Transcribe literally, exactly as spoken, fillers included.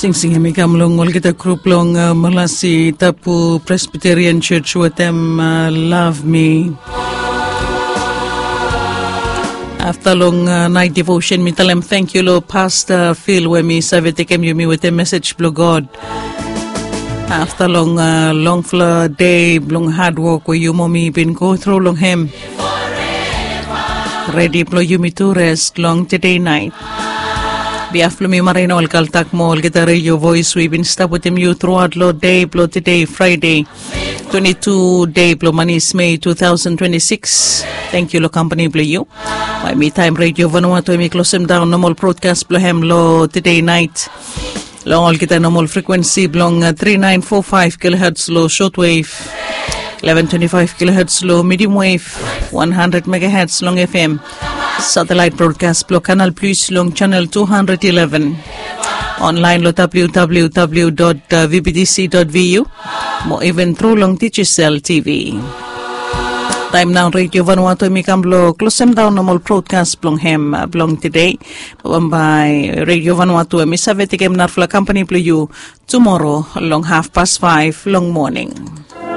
Singsing em i kam long olgeta grup long uh, Malasi Tapu Presbyterian Church wetem uh, Love Me. Afta long uh, nait devotion mi talem thank you lo Pastor Phil we mi save tekem yumi wetem message blo God. Afta long uh, longfala day blong hard work we yu mo mi bin go through long hem. Redi blo yumi tu rest long today night. Biaf blo mi marina ol kaltak mo olgeta radio voice we bin stap wetem yu throughout lo day blo today Friday. Twenty-two day blo manis May two thousand twenty-six. Thank you lo company blo you. By me time radio Vanuatu mi closem down normal broadcast blo hem lo today night. Long olgeta normal frequency blong uh, three nine four five kilohertz lo shortwave, eleven twenty-five kilohertz lo medium wave, one hundred megahertz long F M. Satellite broadcast blo Canal Plus long channel two hundred eleven. Online lo www.vbtc.vu. Mo even through long Digicel T V. Taem nao Radio Vanuatu mi kam blo closem down normal broadcast blong hem uh, blong today. Bambae Radio Vanuatu em i save tekem narafala company blo you tomorrow long half past five long morning.